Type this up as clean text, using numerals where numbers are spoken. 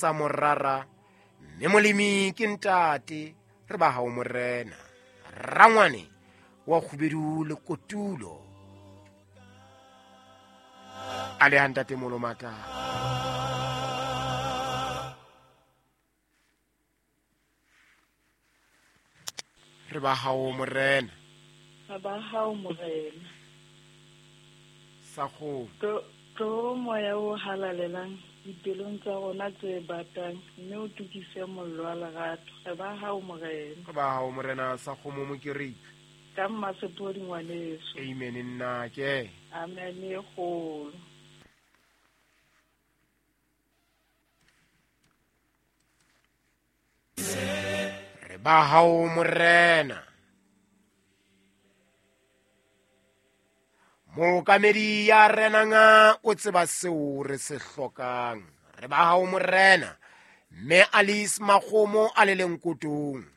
sa morara, mme molemi ke ntate, re ba hao morena. Rangwane wa kgubedu le kotulo. A le ha ntate Molomata. Re ba hao morena. Re ba hao morena. Sa kgomo. Tlo moya o halalelang dipelong tsa rona tse batang, mme o tukise mollo wa lerato. Re ba hao morena. Re ba hao morena sa kgomo mokereki. Ka mmasepodi ngwaneso. Amen nna ke. Amen e kgolo. Re ba hao morena. Mookamedi ya renanga o tseba seo re se hlokang. Re ba hao morena. Mme Alice Makgomo a le lenkotong.